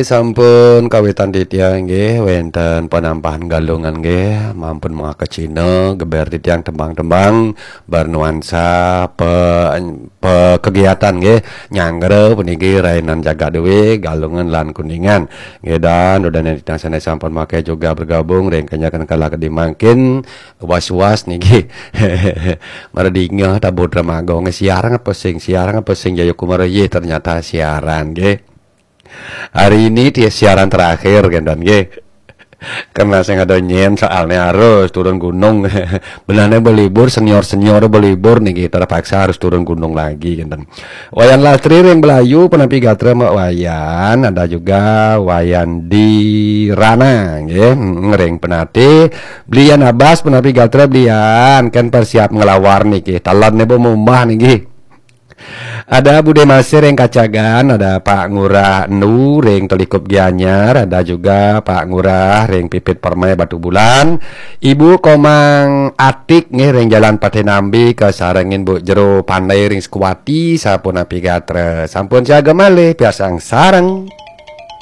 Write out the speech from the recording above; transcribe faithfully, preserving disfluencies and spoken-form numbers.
Sampun kawitan titiang nggih wenten penampahan Galungan nggih, mampun mangaka Cina, geber titiang tembang-tembang bernuansa pe, pe kegiatan nggih, nyanggra puniki rainan jagat dewe Galungan lan Kuningan. Nggih, dan dudaning titiang sane sampun mangke juga bergabung ring kenyakan kala kadi mangkin, was-was niki. Mara dingeh tabuh dramaga nggih, siaran apa sing, siaran apa sing Jayakumara, ye ternyata siaran nggih. Hari ini dia siaran terakhir, Gendan, nggih. Karena sing ada nyen soalnya harus turun gunung. Benane berlibur, senior-senior berlibur niki, terpaksa harus turun gunung lagi, Gendan. Wayan Lastri ring Belayu, punapi gatra Mbak Wayan, ada juga Wayan Dirana, nggih, mm, ring Penatih, Blian Abas, punapi gatra Blian, kan persiap ngelawar niki, talon ne bu mumbah niki. Ada Bude Masih ring Kacagan, ada Pak Ngurah Nu ring Telikup Gianyar, ada juga Pak Ngurah ring Pipit Permai Batu Bulan, Ibu Komang Atik nggih ring Jalan Patih Nambi, kasarengin Bu Jero Pandai ring Sekuati, sapunapi gatra. Sampun siaga malih, piarsang sareng.